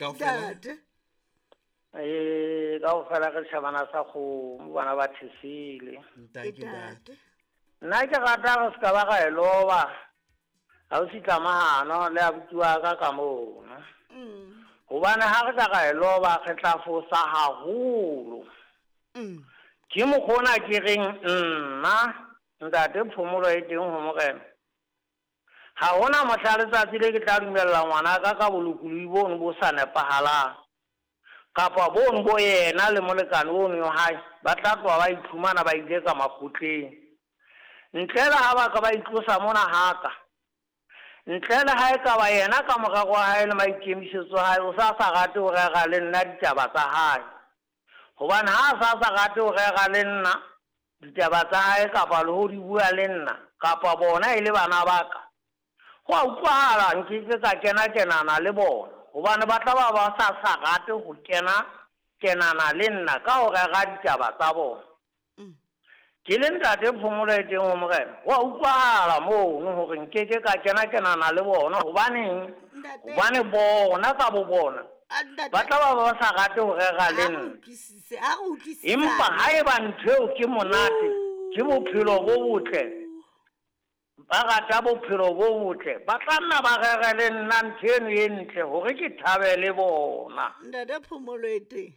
Kaofela. Ntate. Ee, kaofela re tjhabana sa kgomo bana ba thesele. Ntate, ntate. Nna ke rata re se ka ba ra e loba. Ha o sitla mahano le abuti wa ka ka mono. Hobane ha re ka ra e loba re tla fosa haholo. Ke mokgona ke reng nna ntate phomolo e teng ho morena. Ha hona mohla letsatsi le ke tla dumella ngwanaka ka bolokolohi bono bo sa nepahalang. Kapa bono bo yena le molekane ono wa hae ba tla tloha ba iphumana ba ile ka makgotleng. Ntle le ha ba ka ba itlosa mona haka. Ntle le ha e ka ba yena ka morero wa hae le maikemisetso a hae o sa sa rate ho rera le nna ditaba tsa hae. Hobane ha a sa sa rate ho rera le nna ditaba tsa hae kapa le ho di bua le nna kapa bona e le bana ba ka, ho a utlwahala nke ke ka kena kenana le bona hobane ba tla ba ba sa sa rate ho kena kenana le nna ka ho rera ditaba tsa bona. Ke le ntate phomolo e teng ho morena, ho a utlwahala mono hore nke ke ka kena kenana le bona. Hobaneng? Hobane bona ka bo bona ba tla ba ba sa rate ho rera le nna. Empa haeba ntho eo ke monate, ke bophelo bo botle, ba rata bophelo bo botle, ba tla nna ba rere le nna ntho eno e ntle hore ke thabe le bona. Ntate phomolo e teng.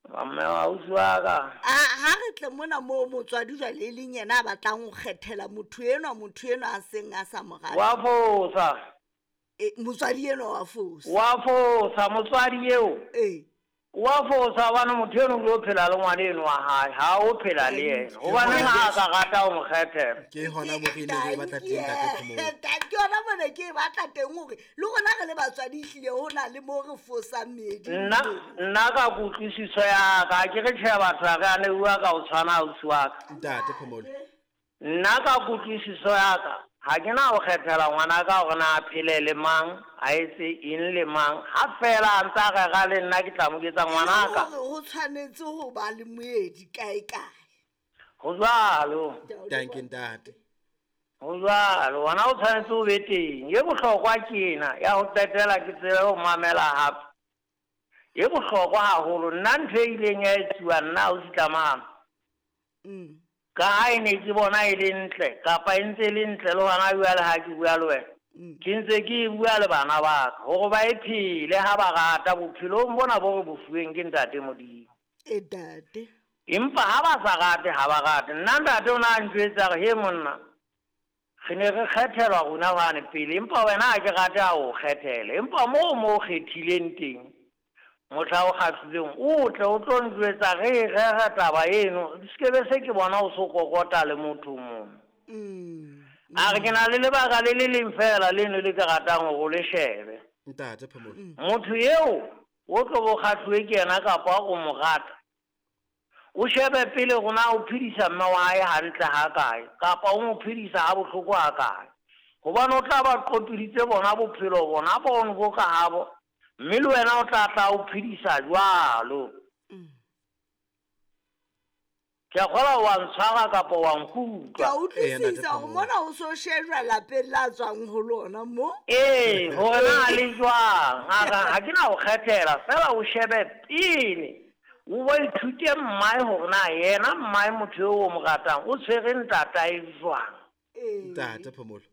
Mme ausi wa ka. A ha re tle mona moo motswadi jwale e leng yena a batlang ho kgethela motho enwa, motho enwa a seng a sa mo rate. Wa fosa. Motswadi enwa wa fosa. Wa fosa motswadi eo. Wa fosa hobane motho eno o tlo phela le ngwana eno wa hae, ha o phela le yena. Hobane ha a ka rata ho mo kgethela. Ke hona mo re neng re batla teng ntate Phomolo. Ke hona mona ke e batla teng hore le rona re le batswadi ehlile ho na le mo re fosang meedi. Nna nna ka kutlwisiso ya ka ke re tjhe batho ha re a neuwa ka ho tshwana ausi wa ka. Ntate Phomolo. Nna ka kutlwisiso ya ka ha ke na ho kgethela ngwana ka hore na a phele le mang, a etse eng le mang. Ha feela a ntse a rera le nna ke tla mo ketsa ngwana ka. Hore ho tshwanetse ho ba le moedi kae kae. Ho jwalo. Thank you ntate. Ho jwalo, wena o tshwanetse o be teng. E bohlokwa ke ena ya ho qetela ke tsebe ho mamela hape. E bohlokwa haholo. Nna ntho e ileng ya etsuwa nna o sitlamang. Ka ha e ne ke bona e le ntle kapa e ntse e le ntle le hona jwale ha ke bua le wena. Ke ntse ke e bua le bana ba ka hore ba e phele ha ba rata bophelong bona bo re bo fuweng ke ntate Modimo. E ntate. Empa ha ba sa rate ha ba rate. Nna ntate o na ntjwetsa hore he monna re ne re kgethelwa rona hwane pele, empa wena ha ke rate ha o kgethele. Empa moo mo kgethileng teng mohla o kgahlileng o tle o tlo njwetsa re e rera taba eno, se ke be se ke bona o so kokota le motho mong. A re ke na le lebaka le le leng fela leno le ke ratang hore o le shebe. Ntate Phomolo. Motho eo o tlo bo kgahluwe ke yena kapa o mo rata, o shebe pele hore na o phedisa mme wa hae hantle ha kae kapa o mo phedisa ha bohloko ha kae. Hobane o tla ba qotoditse bona bophelo bona bono bo ka habo, mme le wena o tla tla o phedisa jwalo. Ke a kgolwa wa ntshwara kapa wa nkutlwa. Ke a utlwisisa hore mona o so shejwa lapeng la tswang ho lona mo. Ee, hore na le jwang. Ha ke na ho kgethela, fela o shebe pele. O bo ithute mmae hore na yena mmae motho eo o mo ratang o tshwere ntatae jwang. Ntate Phomolo.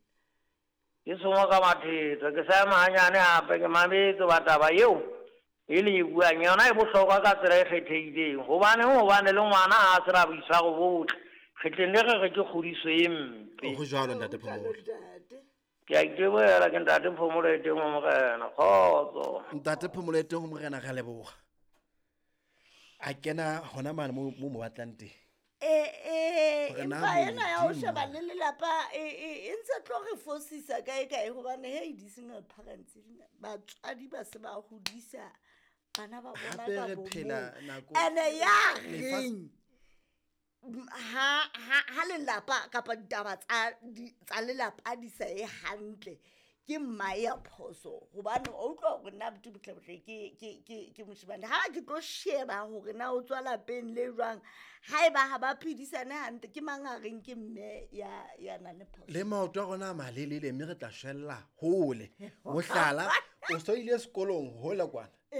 Ke sengwe ka mathetho, ke sa ema hanyane hape ke mametse ba taba eo e le e buang yona e bohlokwa ka tsela e kgethehileng. Hobaneng? Hobane le ngwana ha a sena boitshwaro bo botle, re tle ne re re ke kgodiso e mpe. Ho jwalo ntate Phomolo. Ke a itebohela ke ntate Phomolo e teng ho morena. Kgotso. Ntate Phomolo e teng ho morena, re a leboha. A kena hona mane mo mo batlang teng. Empa ena ya ho sheba le lelapa e ntse tlo re fosisa kae kae hobane hey di-single parents batswadi ba se ba hodisa bana ba bona Hape ka re bomong. phela nako Ene ya lefatshe- reng ha lelapa kapa ditaba tsa lelapa di sa ye hantle ke mma ya phoso hobane o utlwa hore nna buti botle botle ke moshemane. Ha ke tlo sheba hore na o tswa lapeng le jwang, haeba ha ba phedisane hantle ke mang a reng ke mme ya nang le phoso. Le maoto a rona a malelele mme re tla shwella hole. Mohlala, o so ile sekolong hole kwana.